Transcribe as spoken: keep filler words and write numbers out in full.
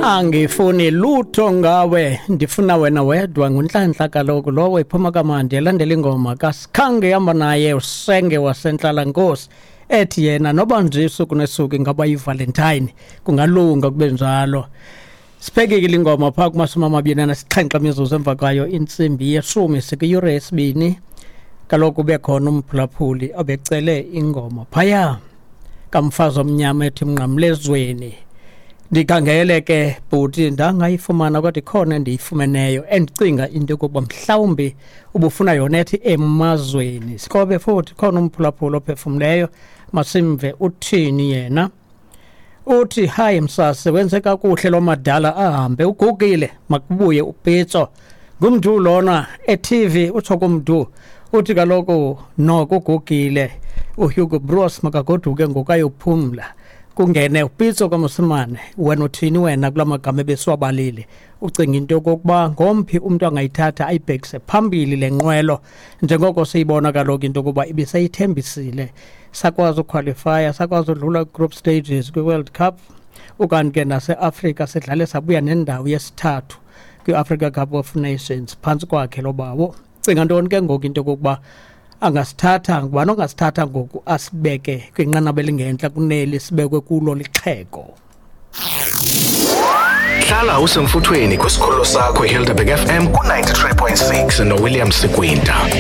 Angifuni lutho ngawe, ndifuna wena wedwa. NguNhlanhla kaloku lowo, iphuma kamandi, elandela ingoma kaSikhange ihamba naye uSenge wasentlala nkosi, ethi yena noba nje usuku nesuku ingaba yiValentine, kungalunga kube njalo. Siphekekile ingoma phaa kumashumi amabini anesixhenxe mizuzu emva kwayo intsimbi yeshumi, sikwiyure yesibini. Kaloku kube khona umphulaphuli obecele ingoma phaya kamfazi omnyama ethi Mnqamlezweni. Ndikhangele ke bhuti, ndangayifumana, kodwa ikhona endiyifumeneyo endicinga into yokuba mhlawumbi ubufuna yona, ethi Emazweni. Sikobe futhi khona umphulaphuli ophefumleyo, masimve uthini yena. Uthi, "Hayi msase, wenze kakuhle lo madala ahambe, ugugile, makubuye uPitso." Ngumntu lona e-T V, utsho kumntu, uthi kaloku noko ugugile uHugo Broos, makagoduke ngokayophumla, kungene uPitso kaMosimane. Wena uthini wena kula magama ebesiwabalile? Ucinga into yokokuba ngomphi umntu angayithatha ayibhekise phambili le nqwelo, njengoko siyibona kaloku into yokuba ibiseyithembisile, sakwazi uqualifya, sakwazi udlula group stages kwi-World Cup, ukanti ke naseAfrika sidlale sabuya nendawo yesithathu kwi-Africa Cup of Nations phantsi kwakhe lo bawo? Cinga ntoni ke ngoku into yokokuba angasithatha, ngubani ongasithatha ngoku asibeke kwinqanaba elingentla kuneli sibekwe kulo lixhego? Hlala usemfuthweni kwisikhululo sakho iHelderberg F M ku-ninety-three point six noWilliam Sikwinta.